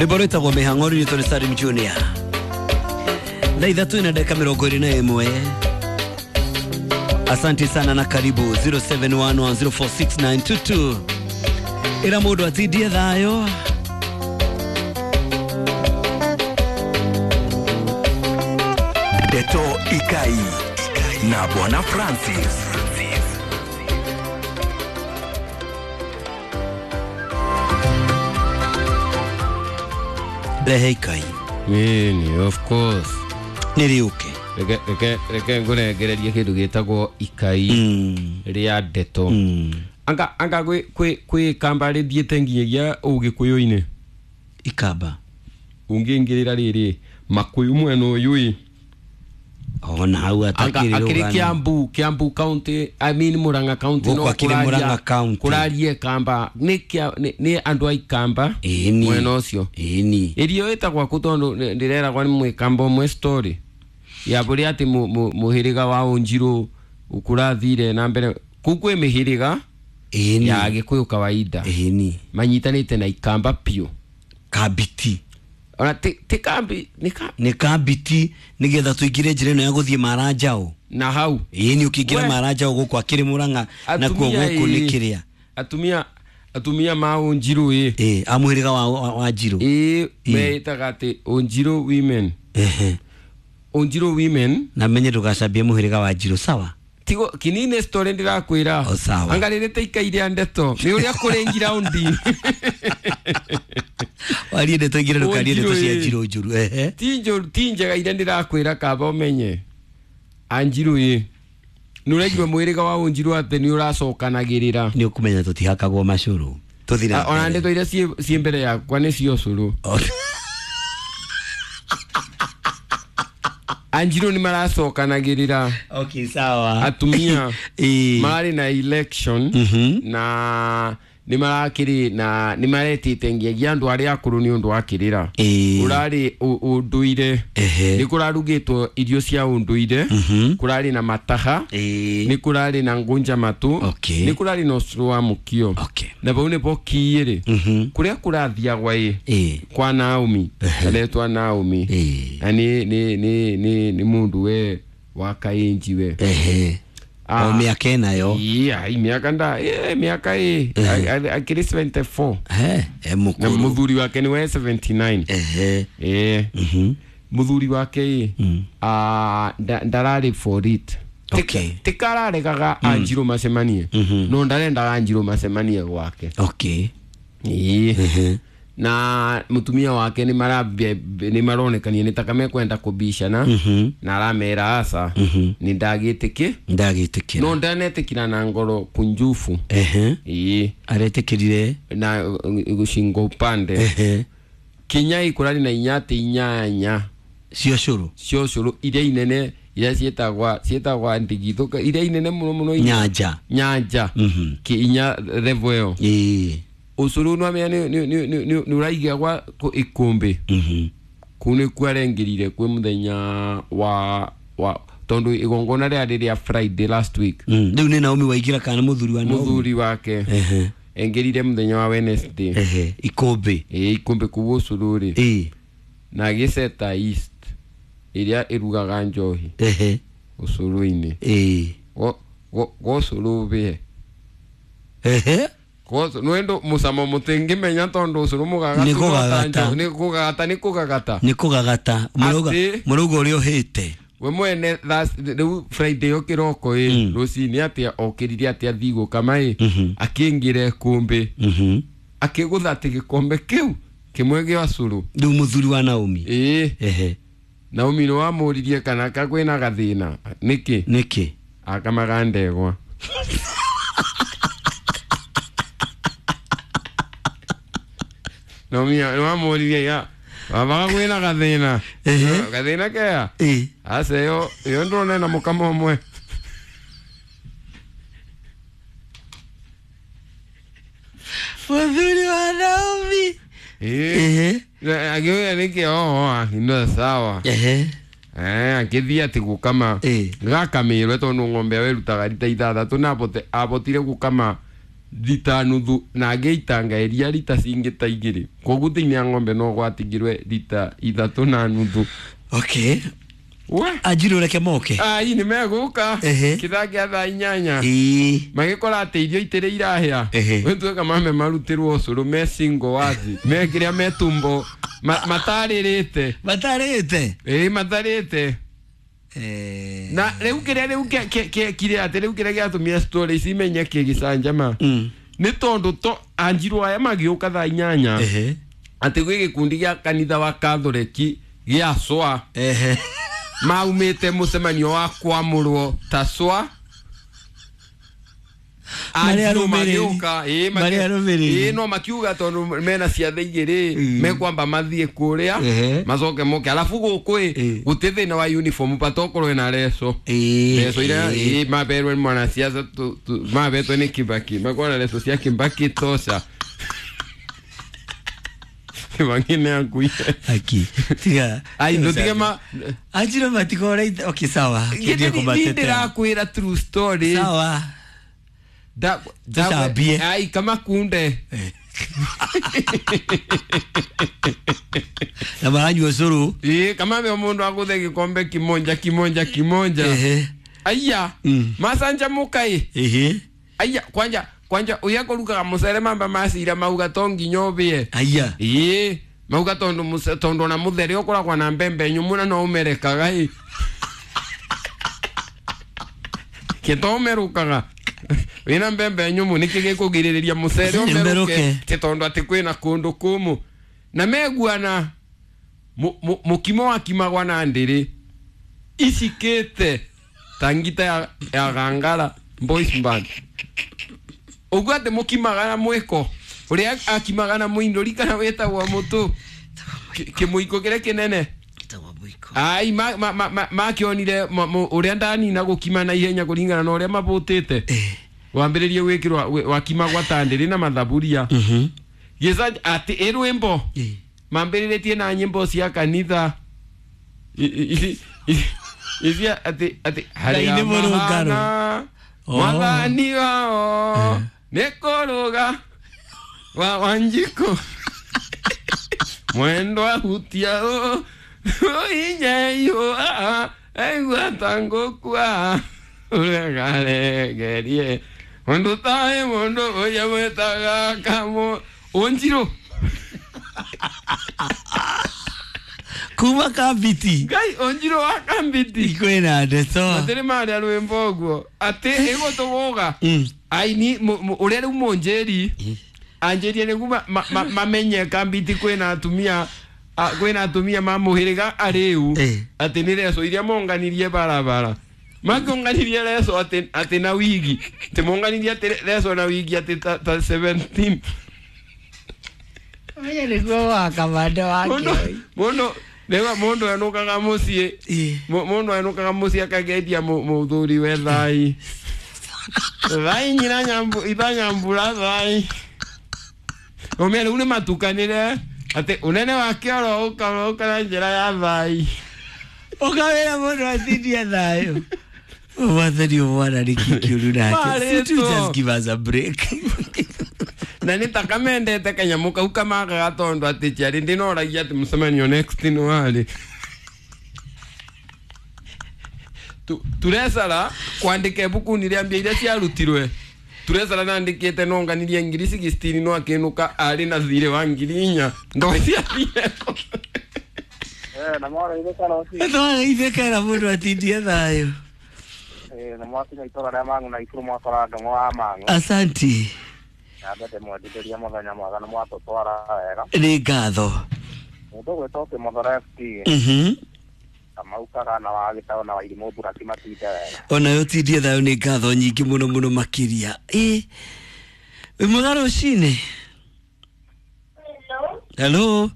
Rwĩmbo rwĩtagwo mĩhang'o rũinĩtwo nĩ Salim Junior. Thaa ithatũ na dakika 21. Asante sana na karibu 0711046922. Ĩra mũndũ atindie thayũ. Ndeto Ikai na Bwana Francis. Rehe ikai. Nini, of course. Nĩ rĩũke. Reke ngũrengererie kĩndũ gĩtagwo ikai rĩa ndeto. Anga kwĩ ikamba rĩthiĩte nginyagia ũgĩkũyũ-inĩ. Ikamba. Ũngĩingĩrĩra rĩrĩ makũyũ mwena ũyũ ĩ. Ona hau atakĩrĩ akĩrĩ Kiambu, Kiambu County, I mean Murang'a County no kũraria kũraria ikamba nĩ andũ a ikamba mwena ũcio. Ĩni. Irio ĩtagwo kũ tondũ ndĩreragwo nĩ mwĩkamba ũmwe story ya bũrĩa atĩ mũhĩrĩga wa Ũnjirũ kũrathire na mbere kũu kwĩ mĩhĩrĩga ya Gĩkũyũ kawaida. Ĩni. Manyitanĩte na ikamba piũ. Kambiti. Ona ti kambi nĩ kambiti nĩgetha tũingĩre njĩra ĩno ya gũthiĩ Maranjao. Na hau. Ĩni ũkĩingĩra Maranjao gũkũ akĩrĩ Murang'a nakuo gũkũ nĩ kĩrĩa. Atumia ma Ũnjirũ ĩ. Ĩ a mũhĩrĩga wa Njirũ. Ĩ meĩtaga atĩ Ũnjirũ women. Ehe. Ũnjirũ women. Na menye ndũgacambie mũhĩrĩga wa Njirũ sawa. Tigo kinini story ndĩrakwĩra. O sawa. Anga rĩrĩ ikai rĩa ndeto. Nĩ ũrĩa kũrĩ ngiraundi. Warie ndeto ingĩ ndũkarie ndeto cia Njirũ njũru. Ehe. Ti njũru ti njega iria ndĩrakwĩra kaba ũmenye. Anjirũ ĩ. Nĩ ũraigua mũhĩrĩga wa Ũnjirũ atĩ nĩ ũracokanagĩrĩra. Nĩ ũkũmenya tũtihakagwo macũrũ. Tũthiĩ na ona ndeto iria ciĩ mbere yakwa nĩ cio ũcũrũ. Anjirũ nĩ maracokanagĩrĩra. Okay, sawa. Atumia mararĩ na election na nĩ marakĩrĩ na nĩ maretĩte ngiagia andũ arĩa akũrũ nĩ ũndũ wa kĩrĩra. Ũrarĩ ũndũire. Nĩ kũrarugĩtwo irio cia ũndũire. Kũrarĩ na mataha. Nĩ kũrarĩ na ngunja matũ. Nĩ kũrarĩ na ũcũrũ wa mũkio. Na bau nĩbo kiĩrĩ. Kũrĩa kũrathiagwa ĩ kwa Naomi. Aretwa Naomi. Na nĩ mũndũ we wa Kainji we. O miaka ĩnayo. Iya, miaka nda, miaka ĩ akĩrĩ 74. Mũkũrũ. Na mũthuri wake nĩ we 79. Ehe. Mũthuri wake ĩ ndararĩ for it. Okay. Tikararegaga Anjirũ macemanie. No ndarendaga Anjirũ macemanie gwake. Okay. Na mutumia wake nĩ maronekania nĩ taka mekwenda kũbicana na aramera aca nĩ ndagĩtĩkĩ ndagĩtĩkĩra no ndanetĩkĩra na ngoro kunjufu. Ĩĩ aretĩkĩrire na gũcingo upande. Kinya ikũrari na inyatĩ inyanya cio cũrũ cio cũrũ iria inene iria ciĩtagwa ndigithũ iria inene mũno mũno nyanja ki inya level ĩyo. Ĩĩ ũcũrũ nĩ nĩ ũraigagwa ikũmbĩ. Kũu nĩkuo arengĩrire kwĩ mũthenya wa tondũ igongona rĩarĩ rĩa Friday last week. Rĩu nĩ Naomi waingĩra kana mũthuri wa Naomi? Mũthuri wake engĩrire mũthenya wa Wednesday. Ikũmbĩ. Ĩĩ ikũmbĩ kũu ũcũrũ rĩ. Na gĩceta East ĩrĩa ĩrugaga njohi ũcũrũ-inĩ. Gũcũrũ bĩe. Nwendo musamo mutingimenya tondu ucuru mugagatu ni kugagata ni kugagata ni kugagata muruga uria uhite we mwene riu Friday yo kiroko i rucini atia okiririe atia thi gukama i akingire kumbi akigutha ati gikombe kiu kimwe gia curu riu muthuri wa Naomi. Ii Naomi ni wamuririe kana ka kwina gathina niki niki akamaga ndegwa. Naomi wamuririe ya baba kwina gathina gathina kea aca iyo ndona na mukamo umwe. Muthuri wa Naomi. Agĩũria nĩkĩ oho no sawa. Akĩthiĩ atĩ gũkama gakamĩrwe tondũ ng'ombe ĩyo ĩrutaga rita ithathatũ na abotire gũkama rita nuthu na ngĩitanga iria rita cingĩ ta igĩrĩ koguo thĩinĩ ya ng'ombe no gwatigirwe rita ithatũ na nuthu. Okay. We Anjirũ reke moke. Ai nĩ megũka kĩthaa kĩa thaa 8. Magĩkora atĩ irio itĩrĩ irahĩa. Wĩtuĩka mame marutĩrwo ũcũrũ me single wazi me kĩrĩa me tumbo matarĩrĩte. Matarĩte? Ĩĩ matarĩte. Na rĩu kĩrĩa rĩu kĩekire atĩ rĩu kĩrĩa gĩatũmire story ici imenye kĩgĩcanjama nĩ tondũ to Anjirũ aya magĩũka thaa 8 atĩ gwĩ gĩkundi gĩa kanitha wa Katholeki gĩa SWA maumĩte mũcemanio wa kwamũrwo ta SWA. Anjirũ magĩũka ĩĩ no makiuga tondũ mena ciathĩ igĩrĩ mekwamba mathiĩ kũrĩa macoke moke alafu gũkũ ĩ gũtirĩ thĩna wa uniform patokorwo ĩna leso leso iria ĩĩ maberwe nĩ mwanasiasa mabetwe nĩ Kibaki makorwo na leso cia Kibaki tosha. Kibaki nĩ akuire. Aki tiga ai ndutige ma Anjirũ matikore. Okay sawa. Niĩ ndĩrakwĩra true story. Sawa. Tucambie. Ai kama kunde na maranyua ũcũrũ. Ĩĩ kama me mũndũ agũthe gĩkombe kĩmonja kĩmonja kĩmonja. Aya macanjamũka ĩ. Aya kwanja kwanja uya kũrugaga mũcere mamba macira mauga to nginya ũbĩe. Aya. Ĩĩ mauga tondũ tondũ ona mũthere ũkoragwo na mbembe nyũmũ na no ũmerekaga ĩ. Kĩto ũmerũkaga wĩna mbembe nyũmũ nĩkĩ gĩkũgirĩrĩria mũcere ũmerũke ti tondũ atĩ kwĩna kũndũ kũmũ na meguana mũkimo wakimagwa na ndĩrĩ icikĩte ta ngita ya gangara boys band ũguo atĩ mũkimaga na mwĩko ũrĩa akimaga na mũindũri kana wĩtagwo mũtũ kĩmũiko kĩrĩa kĩnene. Ai makĩonire ũrĩa ndanina gũkima na ihenya kũringana na ũrĩa mabũtĩte wambĩrĩrie gwĩkĩrwo wakimagwa ta ndĩrĩ na mathaburia gĩca atĩ ĩ rwĩmbo mambĩrĩrĩtie na nyĩmbo cia kanitha ici atĩ atĩ harĩa mahana mwathani wao nĩ kũrũga wa Wanjikũ mwendwa hutia ũ inyeyo aigua ta ngũkua ũregaregerie mũndũ taĩ mũndũ ũrĩa mwĩtaga kamũ Ũnjirũ kuma Kambiti. Ngai Ũnjirũ wa Kambiti kwĩna ndeto matirĩ marĩa rwĩmbo ũguo atĩ ĩgũtũgũga aini ũrĩa rĩu mũnjĩri anjĩrie nĩguo mamenye Kambiti kwĩna atumia kwĩna atumia mamũhĩrĩga arĩu atĩ nĩ leso iria monganirie barabara makĩonganirie leso atĩ na wigi atĩ monganirie atĩ leso na wigi atĩ ta 17. Menya nĩguo wa kamanda wake mũndũ rĩu mũndũ enũkaga mũciĩ mũndũ enũkaga mũciĩ akageithia mũthuri we thai thai nyina itha nyambura thai ũmĩa rĩu nĩ matukanĩre atĩ unene wake oro ũka na njĩra ya thai ũkawĩra mũndũ atindie thayũ mwathani mwana nĩ kĩũru nake. Just give us a break. Na nĩ ta kamendete kanyamũ kau kamagaga tondũ atĩ ciarĩ ndĩnoragia atĩ mũcemanio next nĩ warĩ turecara kwandĩka ibuku-inĩ rĩa mbia iria ciarutirwe turecara nandĩkĩte nonganirie 16,000 no akĩnũka arĩ na thirĩ wa 4,000 ndociathire. Na Ithe mũndũ atindie thayũ. Na mwakinya itũra rĩa Mang'u na Ikuru mwakora ndong'o wa Mang'u. Asanti. Nyambe ndĩmwendithĩrie mũthenya mwega na mwatũtwara wega. Nĩ ngatho. Mũndũ ũgwĩtwo Kĩmothoro FT. Kamau Kagana wa Gĩtaũ na Wairimũ Buraki matinde wega. Onayo tindie thayũ nĩ ngatho nyingĩ mũno mũno makĩria. Ĩ wĩ mwega rũcinĩ? Hello. Hello.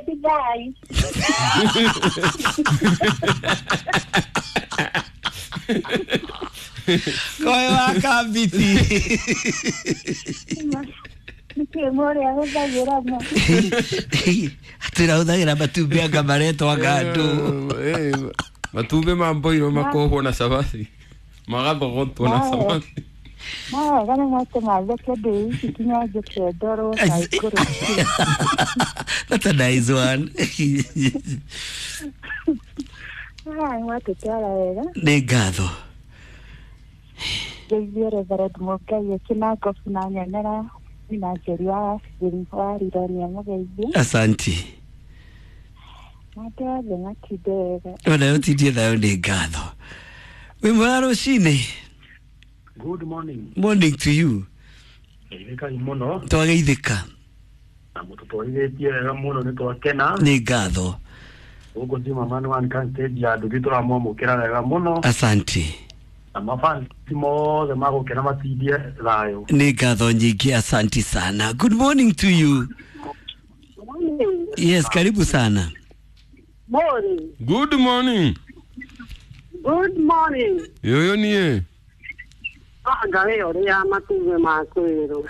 Dubai. Koe wa Kambiti. Nĩkĩ mũrĩa ahũthagĩra ma? Atĩra ahũthagĩra matumbĩ anga maretwo anga andũ. Matumbĩ ma mboirwo makohwo na cabaci. Magathogotwo na cabaci. Mawega nĩ mwatũmatheke ndĩ ici kinya njũke ndorwo na igũrũ. That's a nice one. Mwatũtwara wega. Nĩ ngatho. Ngeithie Reverend Mũngai akĩna ngobu na nyonera na Njeri wa Rironia mũgeithie. Asanti. Andũ othe matinde wega. Ona ũtindie thayũ nĩ ngatho. Wĩ mwega rũcinĩ. Good morning. Morning to you. Geithĩkai mũno. Twageithĩka. Na mũtũtwarithĩtie wega mũno nĩ twakena. Nĩ ngatho. Gũkũ Juma Man One kan stage ya nduthi tũramwamũkĩra wega mũno. Asanti. Na mafansi mothe magũkena matindie thayũ. Nĩ ngatho nyingĩ, asanti sana. Good morning to you. Yes, karibu sana. Morning. Good morning. Good morning. Yoyo niĩ. Anga we ũrĩa matumbĩ makwĩrwo.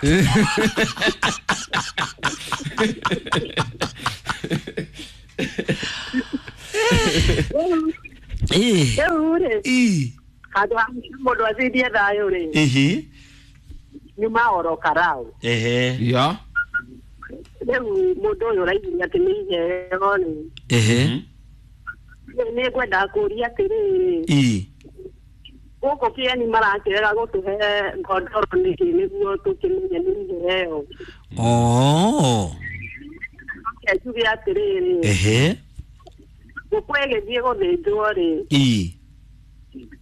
Rĩu rĩ, handũ ha mũndũ athindie thayũ rĩ, nyuma oro karau. Ya. Rĩu mũndũ ũyũ ũraiguire atĩ nĩ iheo rĩ, nĩ ngwendaga kũũria atĩrĩrĩ, gũkũ kĩeni marakĩrega gũtũhe ngondoro nĩkĩ nĩguo tũkĩmenye nĩ iheo? Oh. Reke njuge atĩrĩrĩ, ngũkũ ĩgĩthiĩ gũthĩnjwo rĩ,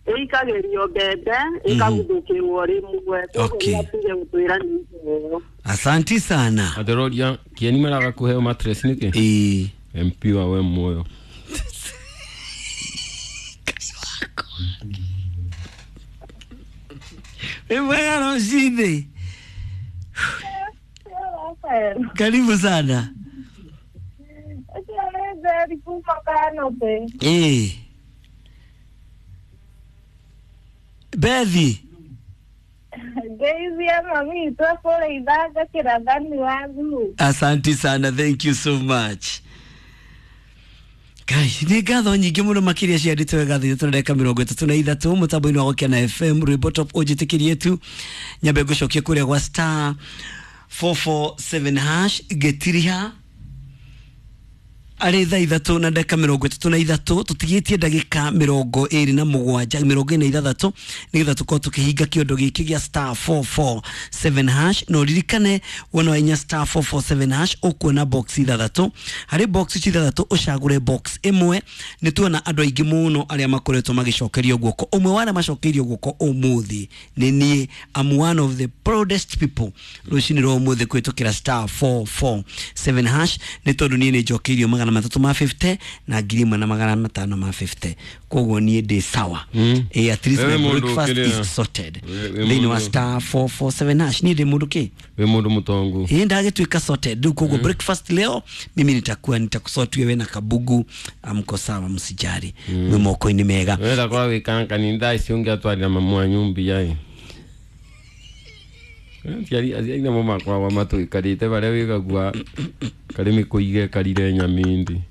ĩikagĩrio mbembe ĩkaguthũkĩrwo rĩmwe, koguo nĩatige gũtwĩra nĩ iheo. Asanti sana. Atheroria kĩeni maraga kũheo mattress nĩkĩ? MP wa we muoyo. Wĩ mwega rũcinĩ. Karibu sana. Bethi. Ngeithia mami twakũrĩithanga kĩrathani wa thuu. Asanti sana, thank you so much. Ngai, nĩ ngatho nyingĩ mũno makĩria ciandĩtwo wega thĩ tũreka 33 mũtambo-inĩ wa Gũkena FM rwĩmbo top ũnjĩtĩkĩrie tu nyambe ngũcokie kũrĩa gwa star 447 hash ngĩtiriha arĩ thaa ithatũ na ndagĩka 33 tũtigĩtie ndagĩka 27 46 nĩgetha tũkorwo tũkĩhinga kĩondo gĩkĩ gĩa star 447 hash. Na ũririkane wona wainya star 447 hash ũkuona box ithathatũ. Harĩ box ici ithathatũ ũcagũre box ĩmwe. Nĩ tuona andũ aingĩ mũno arĩa makoretwo magĩcokerio guoko. Ũmwe wa arĩa macokeirio guoko ũmũthĩ nĩ niĩ. I'm one of the proudest people rũcinĩ rwa ũmũthĩ kũhĩtũkĩra star 447 hash nĩ tondũ niĩ nĩ njokeirio 350 na 1550. Koguo niĩ ndĩ sawa. At least my breakfast is sorted. Thĩinĩ wa star 447 hash niĩ ndĩ mũndũ kĩ? Wĩ mũndũ mũtongu. Ndagĩtuĩka sorted. Rĩu koguo breakfast leo mimi nitakuwa nitakusort wewe na kabugu, amko sawa, msijari. Mwĩ moko-inĩ mega. Wenda korwo wĩ kankani thaa ici ũngĩatwarĩra mamu wanyu mbia ĩ. Aciari namo makoragwo matũikarĩte barĩa wĩgagua karĩ mĩkũi gekarire nyamindi.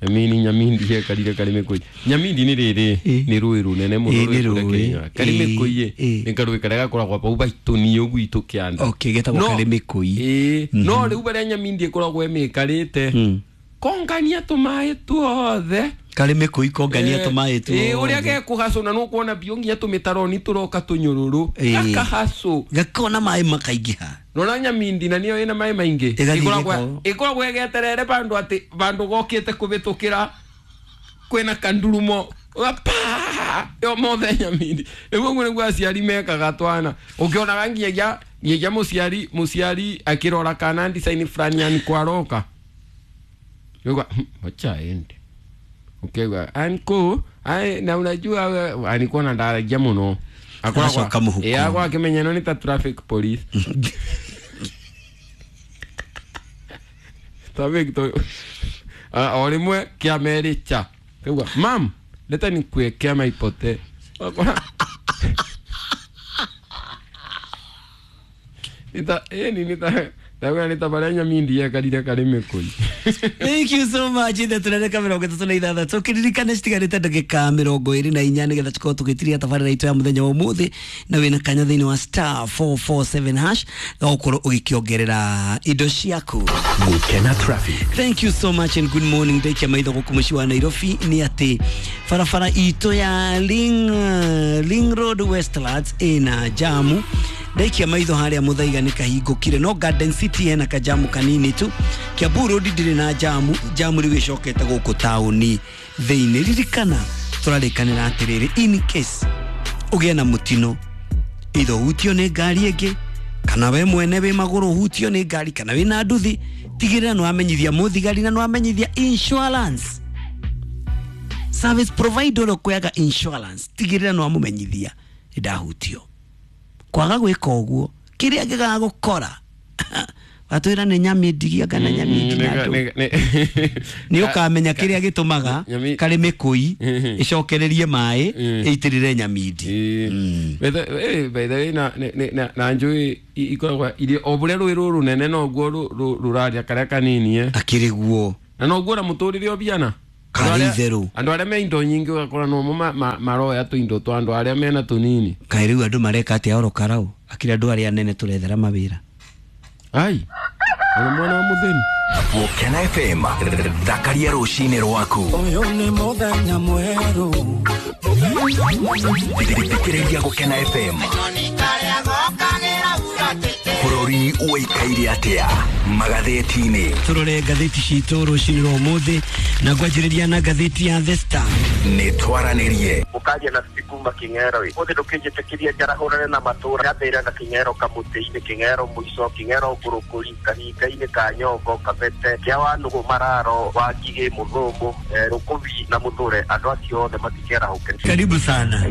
Emini nyamindi gekarire karĩ mĩkũi. Nyamindi nĩ rĩrĩ nĩ rũĩ rũnene mũno rwĩ kũrĩa Kenya. Karĩ mĩkũi nĩ karũĩ karĩa gakoragwo bau baitũni ũguo gwitũ kĩanda. Okay, getagwo karĩ mĩkũi. No rĩu barĩa nyamindi ĩkoragwo ĩmĩkarĩte kongania tũmaĩ tuothe. Karĩ mĩkũi kongania tũmaĩ tuothe. Ũrĩa gekũhacũ na nũkuona biũ nginya tũmĩtaroni tũroka tũnyũrũrũ. Gakahacũ. Gakona maĩ makaingĩha. Nona nyamindi na nĩyo ĩna maĩ maingĩ. Ĩkoragwo ĩgeterere bandũ atĩ bandũ gokĩte kũhĩtũkĩra kwĩna kandurumo. Pa! Yo mothe nyamindi. Rĩu ũguo nĩguo aciari mekaga twana. Ũkĩonaga nginyagia mũciari akĩrora kana design fulani yani kwaroka. Yuga, wacha aende. Ukiwa anko, ai na unajua alikuwa na ndaragia muno. Agacoka mũhuko. Akwa akimenya no ni ta traffic police. Traffic to o rimwe kia mericha. Kiuga, mam, leta nikuwekea maipote. Wakora. Nita Ndakwĩra nĩ ta barĩa nyamindi yekarire karĩ mĩkũi. Thank you so much. Ithe tũrereka 36 kĩririkane citigarĩte ndagĩka 24 nĩgetha tũkorwo tũgĩtiria tabarĩra itũ ya mũthenya wa ũmũthĩ, na wĩna kanya thĩinĩ wa star 447 hash gagũkorwo ũgĩkĩongerera indo ciaku. Gukena traffic. Thank you so much and good morning. Ndaikia maitho gũkũ mũciĩ wa Nairobi nĩ atĩ barabara itũ ya Ring Road Westlands ĩna jamu. Ndaikia maitho harĩa Muthaiga nĩ kahingũkire, no Garden City hena kajamu kanini tu. Kiambu Road ndĩrĩ na jamu, jamu rĩu ĩcokete gũkũ taũni thĩinĩ. Ririkana tũrarĩkanĩra atĩrĩrĩ, in case ũgĩe na mũtino, either ũhutio nĩ ngari ĩngĩ kana we mwene wĩ magũrũ ũhutio nĩ ngari kana wĩ na nduthi, tigĩrĩra nĩ wamenyithia mũthigari na nĩ wamenyithia insurance service provider ũrĩa ũkũyaga insurance, tigĩrĩra nĩ wamũmenyithia nĩ ndahutio. Kwaga gwĩka ũguo kĩrĩa gĩgagũkora watwĩra nĩ nyamĩndigia kana nyamĩndi na andũ nĩ ũkamenya kĩrĩa gĩtũmaga karĩ mĩkũi ĩcokererie maĩ ĩitĩrĩre nyamindi. By the way, na njũĩ ikoragwo irĩ o bũrĩa rũĩ rũrũ rũnene noguo rũraria karĩa kanini akĩrĩ guo, na noguo na mũtũrĩre ũbiana karĩ itherũ. Andũ arĩa me indo nyingĩ ũgakora nomo maroya tũindo twa andũ arĩa mena tũnini. Kaĩ rĩu andũ mareka atĩa oro karau akĩrĩ andũ arĩa anene tũrethera mawĩra. Ai ona mwana wa mũthĩni. Gukena FM, thakaria rũcinĩ rwaku. Ũyũ nĩ mũthenya mwerũ. Thikĩrĩria Gukena FM. Bũrũri ũikaire atĩa magathĩti-inĩ? Tũrore ngathĩti citũ rũcinĩ rwa ũmũthĩ na ngwanjĩrĩria na ngathĩti ya The Star. Nĩ twaranĩrie. Mũkaria na kuma King'ero ĩ ũthĩ ndũkĩnjĩtĩkĩria njarahũrane na matũra gathĩra na King'ero kamũtĩ-inĩ, King'ero mũico, King'ero ngũrũkũri, kahinga-inĩ ka Nyongo, Kabete, kĩa Wanũgũ, Mararo, Wangigĩ, Mũthũngũ, Rũkũbi na Mũthũre, andũ acio othe matikĩarahũke. Karibu sana.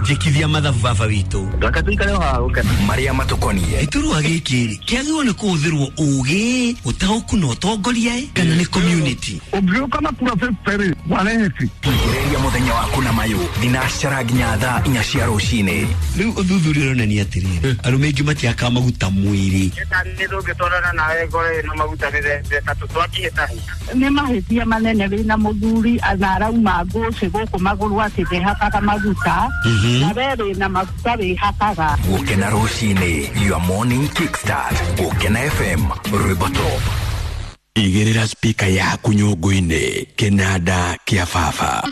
Njĩkithia mathabu baba witũ. Reke tũikare o haha gũkena. Marĩa matũkoniĩ. Gĩturwa gĩkĩ rĩ kĩagĩrĩirwo nĩ kũhũthĩrwo ũgĩ, ũtaũku na ũtongoria kana nĩ community? Ũngĩũka na kura 50 wareheti. Tigĩrĩria mũthenya waku na mayũ thinacara nginya thaa 4 cia rũcinĩ. Rĩu ũthuthuria ũronania atĩrĩrĩ, arũme aingĩ matiakaga maguta mwĩrĩ. Nĩ tũngĩtwarana nawe ngoro ĩno maguta nĩ Nĩ mahĩtia manene wĩna mũthuri na arauma ngũcĩ gũkũ magũrũ atĩ ndehakaga maguta, na we wĩna maguta wĩhakaga. Gũkena rũcinĩ, your morning kickstart. Gũkena FM, rwĩmbo top. Igĩrĩra spika yaku nyũngũ-inĩ, kĩnanda kĩa baba.